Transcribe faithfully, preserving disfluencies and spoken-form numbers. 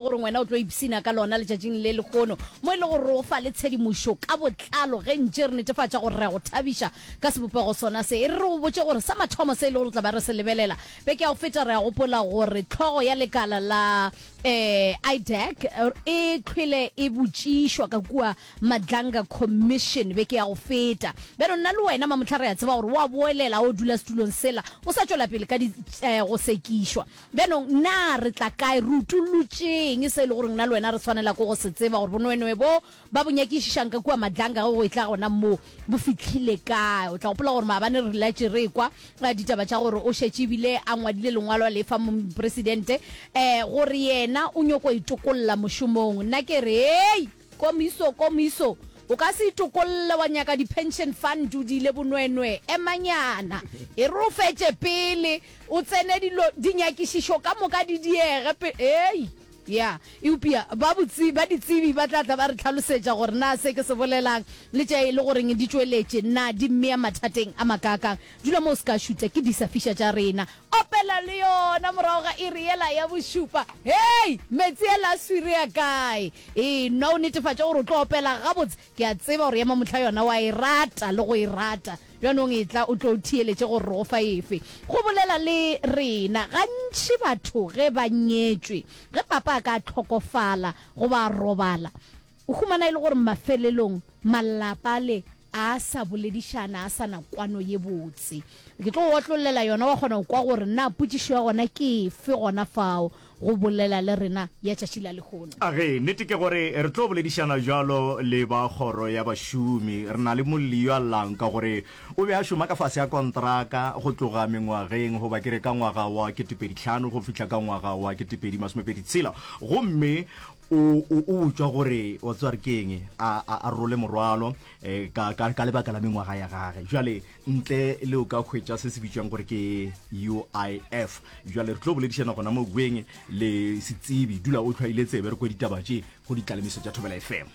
Gore wena o tlo ipshina ka lona letšatšing le lehono, mo e le gore o fa le tshedimošo ka botlalo ge ntše re netefatša gore re a go thabiša ka sebopego sona se. E re re go botše gore sa mathomo se e le gore tla ba re se lebelela beke ya go feta, re a gopola gore hlogo ya lekala la um I D A C e hlwele e botšišwa ka kua Madlanga Commission beke ya go feta. Bjalo nna le wena mamohla re a tseba gore o a boelela o dula setulong sela, o sa tšwela pele ka di um go sekišwa. Bjanong, na re tla kae? Re utollotšeng se e le gore nna le wena re swanela ke go se tseba, gore bonwenwe bo ba bo nyakišišang ka kua Madlanga ge go etla gona moo bo fihlile kae? O tla gopola gore maabane re latše re ekwa ditaba tša gore o šetše ebile a ngwadile lengwalo a lefa mopresidente um gore yena o nyoko itokolla mošomong. Nna ke re, hei, komiso, komiso, o ka se itokolle wa nyaka di-pension fund o diile bonwenwe. Emanyana, e re o fetše pele o tsene dilo dinyakišišo ka moka di diege pe ei ya. Eupša ba botse ba ditsebi ba tla tla ba re tlhalosetša gore na se ke se bolelang le tša e le goreng di tšweletše na di mmea mathateng a makaakang. Dula mo o se ka šutha, ke disa fiša tša rena. Opela le yona morago ga iri yela ya bošupa. Hei, metsi ela a swiri a kae? Ee, nwa o netefatše gore o tlo opela gabotse. Ke a tseba gore ya mamohla yona wa e rata le go e rata. Bjanong etla o tlo theeletše gore re go fa efe. Go bolela le rena. Gantši batho ge ba nyetšwe, ge papa a ka hlokofala goba a robala, o humana e le gore mafelelong malapa ale a sa boledišana, a sa na kwano ye botse. Ke tlo go otlollela yona wa kgona go kwa gore na potšišo ya gona ke efe gona fao go bolela le rena ya tšatši la lehono. A ge, nnete ke gore re tlo boledišana bjalo le ba kgoro ya bašomi. Re na le molli yo a llang ka gore o be a šoma ka fase ga kontraka go tloga mengwageng goba ke re ka ngwaga wa ketepedi hlano go fihla ka ngwaga wa ketepedi masomepedi tshela, gomme o, o, o botšwa gore wa tseba re ke eng, a, a, a role morwalo eh, ka, ka, ka lebaka la mengwaga ya gage. Jwale ntle le o ka hwetša se se bitšwang gore ke U I F. Jwale re tlo boledišana gona mo kweng le setsebi. Dula o hlwaile tsebe re kwe ditaba tše go ditlalemiso tša Thobela F M.